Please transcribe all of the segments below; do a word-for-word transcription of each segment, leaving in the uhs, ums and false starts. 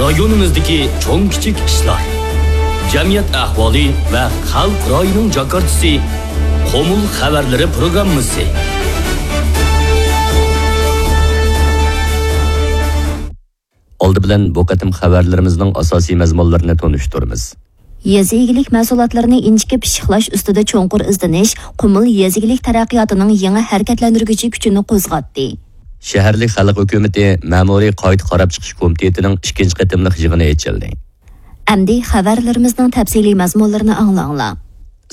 رايونىمىزدىكى چوڭ كىچىك ئىشلار، جەمئىيەت ئەھۋالى ۋە خەلق رايىنىڭ جاكارتىسى، قۇمۇل خەۋەرلىرى پروگراممىسى. ئالدى بىلەن بۇ قېتىم خەۋەرلىرىمىزنىڭ ئاساسىي مەزمۇنلىرىنى تونۇشتۇرىمىز. يېزا ئىگىلىك مەھسۇلاتلىرىنى ئىنچىكە پىششىقلاش ئۈستىدە چوڭقۇر ئىزدىنىش قۇمۇل يېزا ئىگىلىك تەرەققىياتىنىڭ يېڭى ھەرىكەتلەندۈرگۈچى كۈچىنى قوزغاتتى. شەھەرلىك خەلق ھۆكۈمىتى مەمۇرىي قايتا قاراپ چىقىش كومىتېتىنىڭ ئىككىنچى قېتىملىق يىغىنى ئېچىلدى. ئەمدى خەۋەرلىرىمىزنىڭ تەپسىلىي مەزمۇنلىرىنى ئاڭلاڭلار.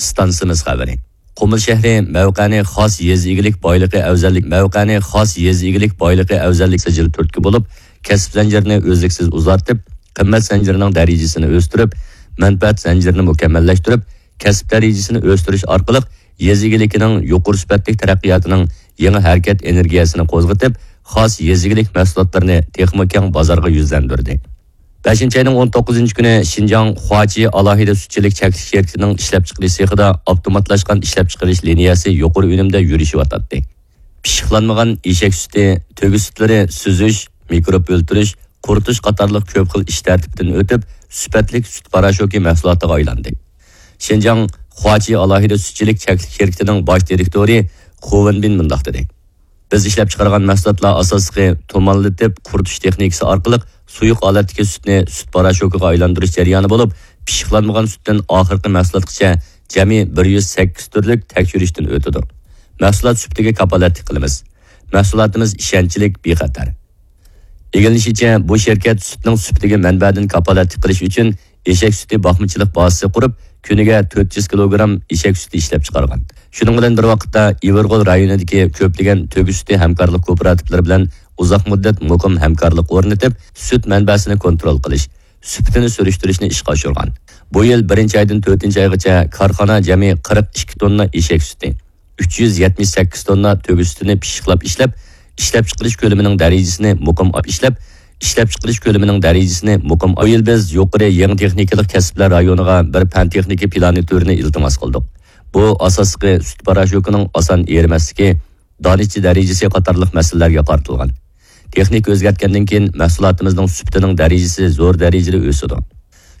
ئىستانسىمىز خەۋىرى. قۇمۇل شەھىرى مەۋقەنى خاس يېزا ئىگىلىك بايلىقى ئەۋزەللىك، مەۋقەنى خاس يېزا ئىگىلىك بايلىقى ئەۋزەللىك سىجىل تۈرتكە بولۇپ، كەسىپ زەنجىرىنى ئۈزلۈكسىز ئۇزارتىپ، قىممەت زەنجىرىنىڭ دەرىجىسىنى ئۆستۈرۈپ، مەنپەئەت زەنجىرىنى مۇكەممەللەشتۈرۈپ، كەسىپ دەرىجىسىنى ئۆستۈرۈش ئارقىلىق يېزا ئىگىلىكىنىڭ يۇقىرى سۈپەتلىك تەرەققىياتىنىڭ يېڭى ھەرىكەت ئېنېرگىيەسىنى قوزغىتىپ، خاس يېزا ئىگىلىك مەھسۇلاتلىرىنى تېخىمۇ كەڭ بازارغا يۈزلەندۈردى. بەشىنچى ئاينىڭ ئون توققۇزىنچى كۈنى شىنجاڭ خۇاچى ئالاھىدە سۈتچىلىك چەكلىك شىركىتىنىڭ ئىشلەپچىقىرىش سېخىدا ئاپتوماتلاشقان ئىشلەپچىقىرىش لىنىيەسى يۇقىرى ئۈنۈمدە يۈرۈشۈۋاتاتتى. پىششىقلانمىغان ئېشەك سۈتى، تۆگە سۈتلىرى سۈزۈش، مىكروب ئۆلتۈرۈش، قۇرۇتۇش قاتارلىق كۆپ خىل ئىش تەرتىپىدىن ئۆتۈپ، سۈپەتلىك سۈت پاراشوكى مەھسۇلاتىغا ئايلاندى. شىنجاڭ خۇاچى ئالاھىدە سۈتچىلىك چەكلىك شىركىتىنىڭ باش دىرېكتورى خۇ ۋېنبىن مۇنداق دېدى: بىز ئىشلەپچىقارغان مەھسۇلاتلار ئاساسلىقى تۇمانلىتىپ قۇرۇتۇش تېخنىكىسى ئارقىلىق سۇيۇق ھالەتتىكى سۈتنى سۈت پاراشوكىغا ئايلاندۇرۇش جەريانى بولۇپ، پىششىقلانمىغان سۈتتىن ئاخىرقى مەھسۇلاتقىچە جەمئىي بىر يۈز سەككىز تۈرلۈك تەكشۈرۈشتىن ئۆتىدۇ. مەھسۇلات سۈپىتىگە كاپالەتلىك قىلىمىز. مەھسۇلاتىمىز ئىشەنچلىك، بىخەتەر. ئىگىلىنىشىچە، بۇ شىركەت سۈتنىڭ سۈپىتىگە مەنبەدىن كاپالەتلىك قىلىش ئۈچۈن ئېشەك سۈتى باقمىچىلىق بازىسى قۇرۇپ، كۈنىگە تۆت يۈز كىلوگرام ئېشەك سۈتى ئىشلەپچىقارغان. شۇنىڭ بىلەن بىر ۋاقىتتا، ئىۋىرغول رايونىدىكى كۆپلىگەن تۆگە سۈتى ھەمكارلىق كوپىراتىپلىرى بىلەن ئۇزاق مۇددەت مۇقىم ھەمكارلىق ئورنىتىپ، سۈت مەنبەسىنى كونترول قىلىش، سۈپىتىنى سۈرۈشتۈرۈشنى ئىشقا ئاشۇرغان. بۇ يىل بىرىنچى ئايدىن تۆتىنچى ئايغىچە كارخانا جەمئىي قىرىق ئىككى توننا ئېشەك سۈتى، ئۈچ يۈز يەتمىش سەككىز توننا تۆگە سۈتىنى پىششىقلاپ ئىشلەپ، ئىشلەپچىقىرىش كۆلىمىنىڭ دەرىجىسىنى مۇقىم ئىشلەپ، ئىشلەپچىقىرىش كۆلىمىنىڭ دەرىجىسىنى مۇقىم. بۇ يىل بىز يۇقىرى يېڭى تېخنىكىلىق كەسىپلەر رايونىغا بىر پەن تېخنىكا پىلانى تۈرىنى ئىلتىماس قىلدۇق. بۇ ئاساسلىقى سۈت پاراشوكىنىڭ ئاسان ئېرىمەسلىكى، دانىشچە دەرىجىسى قاتارلىق مەسىلىلەرگە قارىتىلغان. تېخنىكا ئۆزگەرتكەندىن كېيىن مەھسۇلاتىمىزنىڭ سۈپىتىنىڭ دەرىجىسى زور دەرىجىدە ئۆسىدۇ.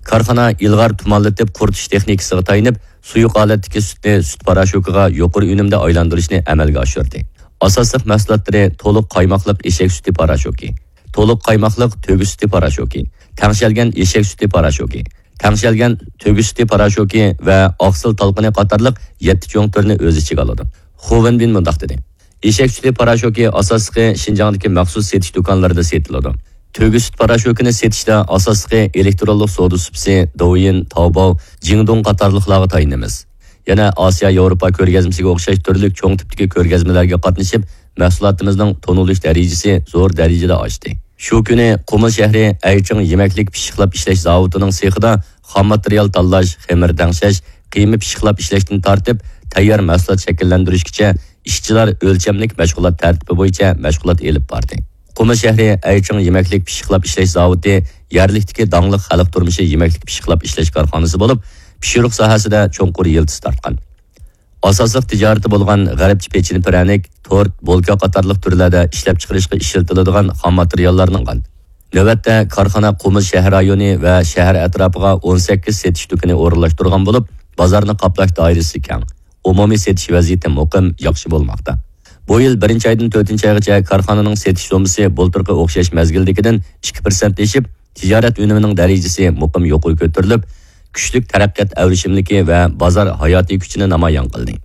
كارخانا ئىلغار تۇمانلىتىپ قۇرۇتۇش تېخنىكىسىغا تايىنىپ، سۇيۇق ھالەتتىكى سۈتنى سۈت پاراشوكىغا يۇقىرى ئۈنۈمدە ئايلاندۇرۇشنى ئەمەلگە ئاشۇردى. ئاساسلىق مەھسۇلاتلىرى تولۇق قايماقلىق ئېشەك سۈتى پاراشوكى، تولۇق قايماقلىق تۆگە سۈتى پاراشوكى، تەڭشەلگەن ئېشەك سۈتى پاراشوكى، تەڭشەلگەن تۆگە سۈتى پاراشوكى ۋە ئاقسىل تالقىنى قاتارلىق يەتتە چوڭ تۈرنى ئۆز ئىچىگە ئالىدۇ. خۇ ۋېنبىن مۇنداق دېدى: ئېشەك سۈتى پاراشوكى ئاساسلىقى شىنجاڭدىكى مەخسۇس سېتىش دۇكانلىرىدا سېتىلىدۇ. تۆگە سۈت پاراشوكىنى سېتىشتا ئاساسلىقى ئېلېكترونلۇق سودا سۇپىسى، دوۋيىن، تاۋباۋ، جىڭدۇڭ قاتارلىقلارغا تايىنىمىز. يەنە ئاسىيا ياۋروپا كۆرگەزمىسىگە ئوخشاش تۈرلۈك چوڭ تىپتىكى كۆرگەزمىلەرگە قاتنىشىپ، مەھسۇلاتىمىزنىڭ تونۇلۇش دەرىجىسى زور دەرىجىدە ئاشتى. شۇ كۈنى قۇمۇل شەھىرى ئەيچىڭ يېمەكلىك پىششىقلاپ ئىشلەش زاۋۇتىنىڭ سېخىدا خام ماتېرىيال تاللاش، خېمىر تەڭشەش، قىيما پىششىقلاپ ئىشلەشتىن تارتىپ، تەييار مەھسۇلات شەكىللەندۈرۈشكىچە ئىشچىلار ئۆلچەملىك مەشغۇلات تەرتىپى بويىچە مەشغۇلات ئېلىپ باردى. قۇمۇل شەھىرى ئەيچىڭ يېمەكلىك پىششىقلاپ ئىشلەش زاۋۇتى يەرلىكتىكى داڭلىق خەلق تۇرمۇشى يېمەكلىك پىششىقلاپ ئىشلەش كارخانىسى بولۇپ، پىشۇرۇق ساھەسىدە چوڭقۇر يىلتىز تارتقان. ئاساسلىق تىجارىتى بولغان غەربچە پېچىنە پىرەنىك، تورت، بولكا قاتارلىق تۈرلەردە ئىشلەپچىقىرىشقا ئىشلىتىلىدىغان خام ماتېرىياللارنىڭ. نۆۋەتتە كارخانا قۇمۇل شەھەر رايونى ۋە شەھەر ئەتراپىغا ئون سەككىز سېتىش دۇكىنى ئورۇنلاشتۇرغان بولۇپ، بازارنى قاپلاش دائىرىسى كەڭ، ئومۇمىي سېتىش ۋەزىيىتى مۇقىم، ياخشى بولماقتا. بۇ يىل بىرىنچى ئايدىن تۆتىنچى ئايغىچە كارخانىنىڭ سېتىش سوممىسى بۇلتۇرقى ئوخشاش مەزگىلدىكىدىن ئىككى پىرسەنت ئېشىپ، تىجارەت ئۈنۈمىنىڭ دەرىجىسى مۇقىم يۇقىرى كۆتۈرۈلۈپ، كۈچلۈك تەرەققىيات ئەۋرىشىملىكى ۋە بازار ھاياتىي كۈچىنى نامايان قىلدى.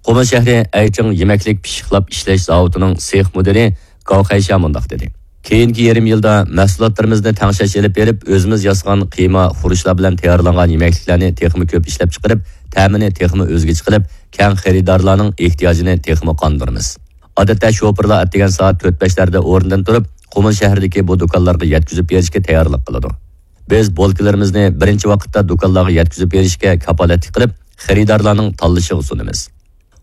قۇمۇل شەھىرى ئەيچىڭ يېمەكلىك پىششىقلاپ ئىشلەش زاۋۇتىنىڭ سېخ مۇدىرى گاۋ خەيشيا مۇنداق دېدى: كېيىنكى يېرىم يىلدا مەھسۇلاتلىرىمىزنى تەڭشەش ئېلىپ بېرىپ، ئۆزىمىز ياسىغان قىيما، خۇرۇچلار بىلەن تەييارلانغان يېمەكلىكلەرنى تېخىمۇ كۆپ ئىشلەپچىقىرىپ، تەمىنى تېخىمۇ ئۆزگىچە قىلىپ، كەڭ خېرىدارلارنىڭ ئېھتىياجىنى تېخىمۇ قاندۇرىمىز. ئادەتتە شوپۇرلار ئەتىگەن سائەت تۆت بەشلەردە ئورنىدىن تۇرۇپ، قۇمۇل شەھىرىدىكى بۇ دۇكانلارغا يەتكۈزۈپ بېرىشكە تەييارلىق قىلىدۇ. بىز بولكىلىرىمىزنى بىرىنچى ۋاقىتتا دۇكانلارغا يەتكۈزۈپ بېرىشكە كاپالەتلىك قىلىپ، خېرىدارلارنىڭ تاللىشىغا سۇنىمىز.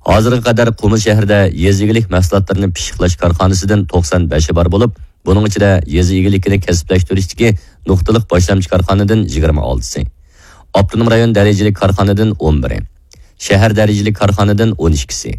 ھازىرغا قەدەر قۇمۇل شەھىرىدە يېزا ئىگىلىك مەھسۇلاتلىرىنى پىششىقلاش كارخانىسىدىن توقسان بەشى بار بولۇپ، بۇنىڭ ئىچىدە يېزا ئىگىلىكىنى كەسىپلەشتۈرۈشتىكى نۇقتىلىق باشلامچى كارخانىدىن يىگىرمە ئالتىسى، ئاپتونوم رايون دەرىجىلىك كارخانىدىن ئون بىرى، شەھەر دەرىجىلىك كارخانىدىن ئون ئىككىسى،